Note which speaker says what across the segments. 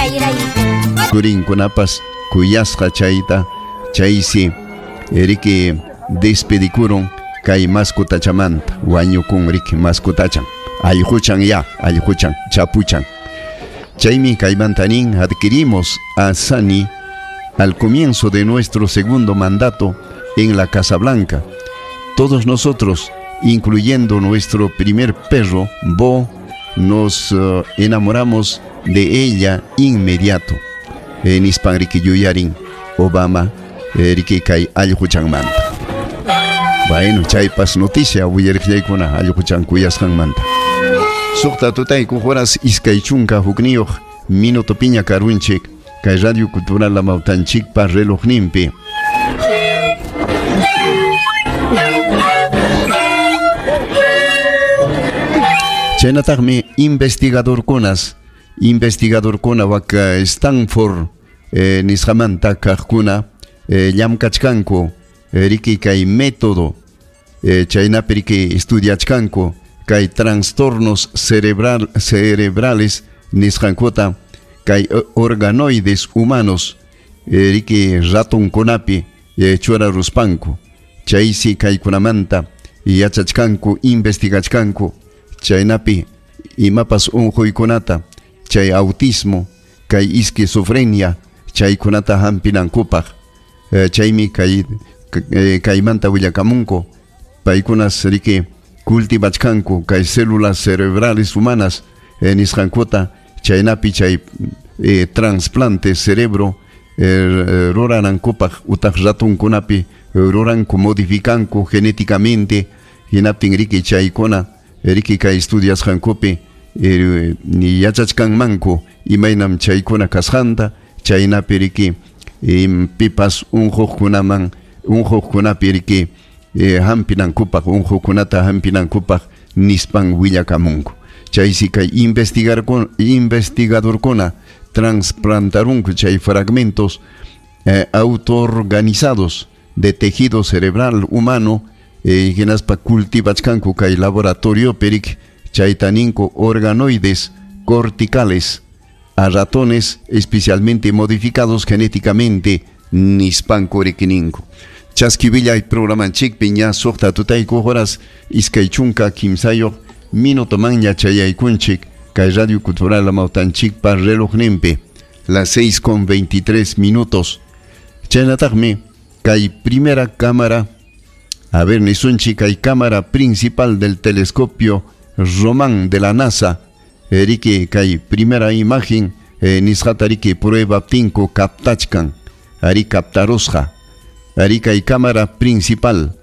Speaker 1: Chayrayku.
Speaker 2: Churinkunapas kuyasqa chayta chaysi riki despedikurun kay mascotachamanta wañukun riki mascotachan allquchan ya allquchan chapuchan. Chaymi kaymanta nin adquirimos a Sani al comienzo de nuestro segundo mandato en la Casa Blanca. Todos nosotros, incluyendo nuestro primer perro, Bo, nos enamoramos de ella inmediato. Nispan riki yuyarin Obama riki kay allquchanmanta. Bueno, chaypas noticia willariqllaykuna allquchan kuyasqanmanta. Suqta tutayku horas iskay chunka hukniyuq minuto piña karunchik kay Radio Cultural Amawtanchikpa relojninpi. Chaynataqmi investigadorkunas, investigadorkuna wak Stanford nisqamanta kaqkuna llamkachkanku riki kay método chaynapi riki estudiachkanku kay trastornos cerebrales nisqankuta kay organoides humanos riki ratonkunapi churaruspanku chaysi kaykunamanta yachachkanku investigachkanku chaynapi imapas unquykunata chay autismo kay esquizofrenia chaykunata hampinankupaq chaymi kay kaymanta willakamunku paykunas riki cultivachkanku kay células cerebrales humanas nisqankuta chaynapi chay trasplante cerebro ruranankupaq utaq ratonkunapi ruranku modificanku genéticamente hinaptin riki chaykuna riki kay estudiasqankupi yachachkanmanku imaynam chaykuna kasqanta chaynapi riki pipas unquqkunaman unquqkunapi riki hampinankupaq unquqkunata hampinankupaq nispan willakamunku chaysi kay investigadorkuna trasplantarunku chay fragmentos autoorganizados de tejido cerebral humano hinaspa cultivachkanku kay laboratorio perik chayta ninku organoides corticales a ratones especialmente modificados genéticamente nispanku rikininku. Chaskivillay programanchikpi ña suqta tutayku horas iskay chunka kimsayuq minuto manña chayaykunchik kay Radio Cultural Amawtanchikpa relojninpi las 6:23. Chaynataqmi kay primera cámara, a ver, nisunchik kay cámara principal del telescopio Román de la NASA, riki kay primera imagen nisqata riki prueba tinku captachkan, ari captarusqa, ari kay cámara principal,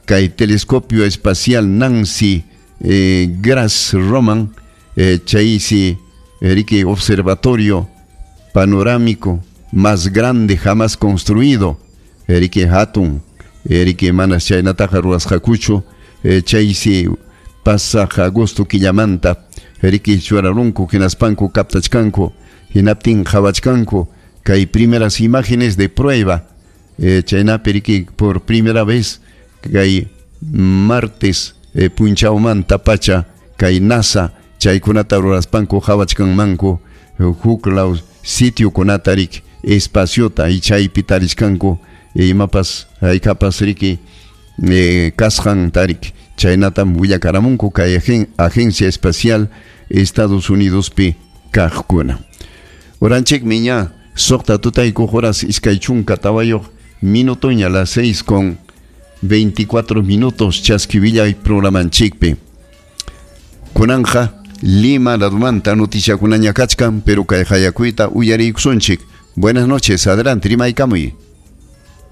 Speaker 2: kay telescopio espacial Nancy Grace Roman, chaysi riki observatorio panorámico más grande jamás construido, riki hatun, riki manas chaynataqa ruwasqakuchu, chaysi pasaq agosto killamanta riki churarunku hinaspanku captachkanku hinaptin qhawachkanku kay primeras imágenes de prueba chaynapi riki por primera vez kay martes punchawmanta pacha kay NASA chaykunata ruraspanku qhawachkanmanku huk law sitiokunata riki espaciota y chaypi tarichkanku imapas haykapas riki kasqan tarik chaynatam willakaramunku kay Agencia Espacial Estados Unidos pi kaqkuna. Oranchikmi ña suqta tutayku horas iskay chunka tawayuq minutoña las 6:24 chaskivillay programanchikpi. Kunanja Lima ladumanta noticiakunaña kachkan, pero kay hayakuyta uyariykusunchik. Buenas noches, adelante, rimaykamuy.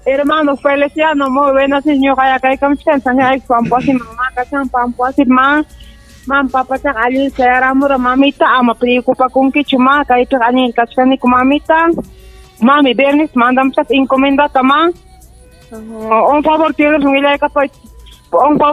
Speaker 3: Hermano Feliciano, muy buenas señora, acá hay mam papa chak alin sayara mamita ama preocupa con que chuma kay to anin kachkani mamita mami viernes mandam chak encomenda tama un favor tienes un favor.